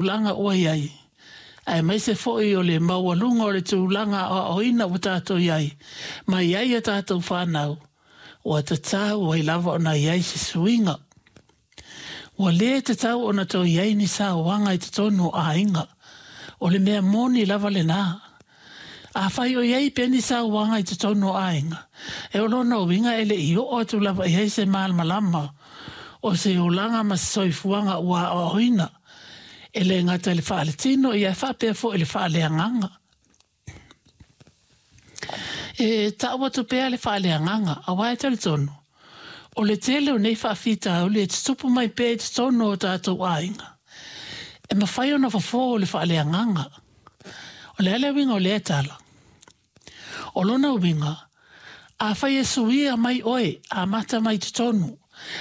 Tulaga ua i ai, aemaise foi o le maualuga o le tulaga aoaoina ua tatou i ai, ma i ai a tatou fanau, ua tatau ai lava ona i ai se suiga. Ua le tatau ona toe i ai ni sauaga i totonu o aiga. O le mea moni lava lena. Afai o i ai pea ni sauaga i totonu o aiga, e o lona uiga e le i oo atu lava i ai se malamalama o se olaga ma se soifuaga ua aoaoina, e le gata i le faaletino ia ae faapea foi i le faaleagaga. E tau atu pea le faaleagaga, aua e talitonu, o le tele o nei faafitauli e tutupu mai pea i totonu o tatou aiga, e mafai ona fofo e le faaleagaga. O le a le uiga o lea tala? O lona uiga, afai e suia mai oe, amata mai totonu,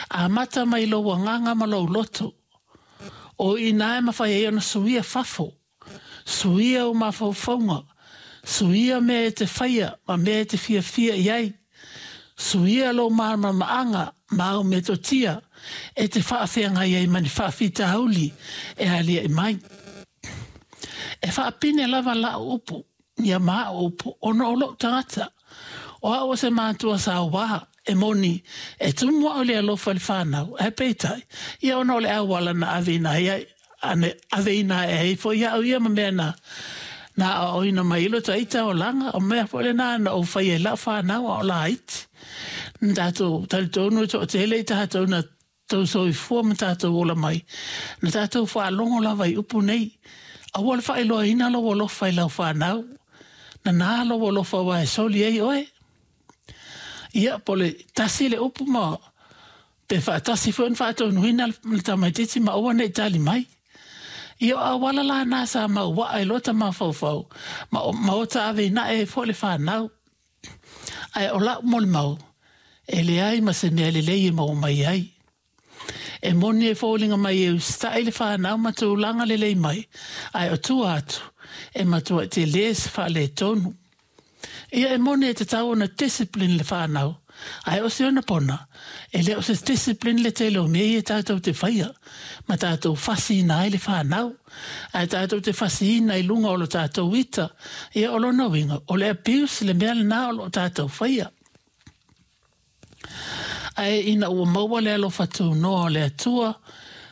amata mai lou agaga ma lou loto, o i inā e mafai ai ona suia fafo, suia ou mafaufauga, suia mea e te faia ma mea e te fiafia i ai, suia lou malamalamaaga ma au metotia e te faafeagai ai ma ni faafitauli e aliaʻi mai. E faapine lava lau upu, ia ma au upu, ona o lou tagata. O au o se matua sauā, e moni, e tumu au i le alofa i le fanau, ae peitai, ia ona o le auala na aveina ai ai, aveina ae ai foi au ia ma mea na na aoaoina mai ai lo ta ita olaga, o mea foi lena na ou faia i lau fanau a o laiti. Na tatou talitonu e toatele i tatou na tou soifua ma tatou ola mai, na tatou faalogo lava i upu nei, Aua le faailoaina lou alofa i lau fanau, nana lou alofa aua e soli ai oe. Ia, po o le tasi le upu ma pe faatasi foi ona faatonuina le tamaitiiti ma aua ne i tali mai. Ia, o auala la na sa mauaa i lota mafaufau ma, ma ota aveinae ai foi le fanau. Ae o lau molimau, e leai ma se mea lelei e maua mai ai. E moni e foliga mai e usitai le fanau ma tulaga lelei mai, ae o tua atu, e matuai tele se faaletonu. Ia e moni e tatau ona discipline le fanau, ae o se ona pona, e le o se discipline le tele o mea ia tatou te faia, ma tatou fasiina ai le fanau, ae tatou te fasiina i luga o lo tatou ita, ia o lona uiga, o le abuse le mea lena o lo o tatou faia. Ae ina ua maua le alofa tunoa o le Atua,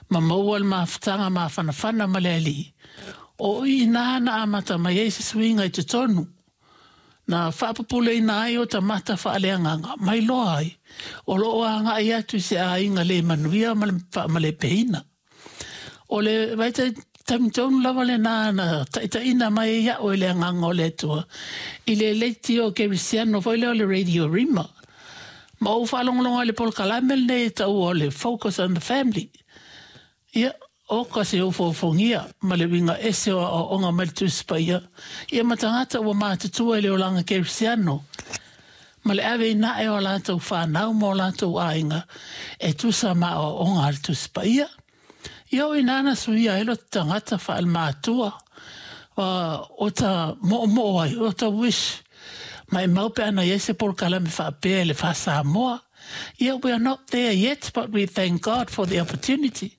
ma maua le mafutaga mafanafana ma le Alii, o i ina na amata mai ai se suiga i totonu, na faapupuleina ai ota mata faaleagaga, ma iloa ai, o lo o agai atu i se aiga le manuia ma le faamalepeina. O le vaitaimi tonu lava lena na taitaiina mai ai au e le Agaga o le Atua i le leitio kerisiano foi lea o le Radio Rima. Ma ou faalogologo ai i le polokalame lenei e taua o le Focus on the Family. Ia, oka se ofoofogia ma le uiga ese o aoaoga mai le Tusi Paia, ia ma tagata ua matutua i le olaga kerisiano ma le ave inae o a latou fanau ma o latou aiga e tusa ma aoaoga a le Tusi Paia. Ia o inā na suia ai lo tagata faale-matua, o ta moomoo ai, o ta wish, maimau pe ana i ai se polokalame faapea i le faa-Samoa. Ia, we are not there yet, but we thank God for the opportunity.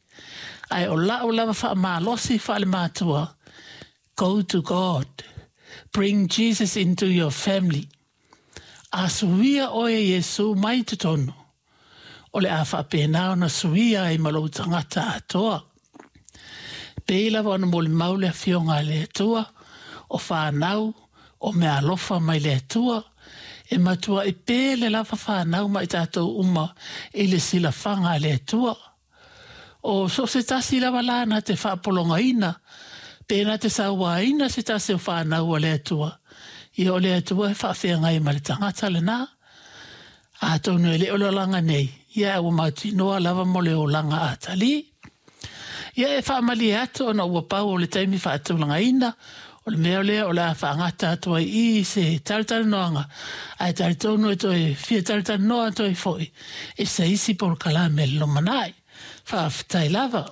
Ae o la'u lava faamalosi faale-matua, go to God, bring Jesus into your family. A suia oe e Iesū mai totonu, o le a faapena ona suia ai ma lou tagata atoa. Pei lava ona molimau le Afioga a le Atua, o fanau, o meaalofa mai le Atua, e matuai pele lava fanau ma i tatou uma i le silafaga a le Atua. O so o se tasi lava la na te faapologaina, pe na te sauaina se tasi o fanau a le Atua, ia o le Atua e faafeagai ma le tagata lena. Atonu e le o le olaga nei, ia ae ua mautinoa lava mo le olaga atalii. Ia e faamalie atu ona ua pau o le taimi faatulagaina, o le mea lea o le a faagata atu ai i se talatalanoaga, ae talitonu e toe fia talatalanoa atu ai foi i se isi polokalame i le lumanai. Faafetai lava.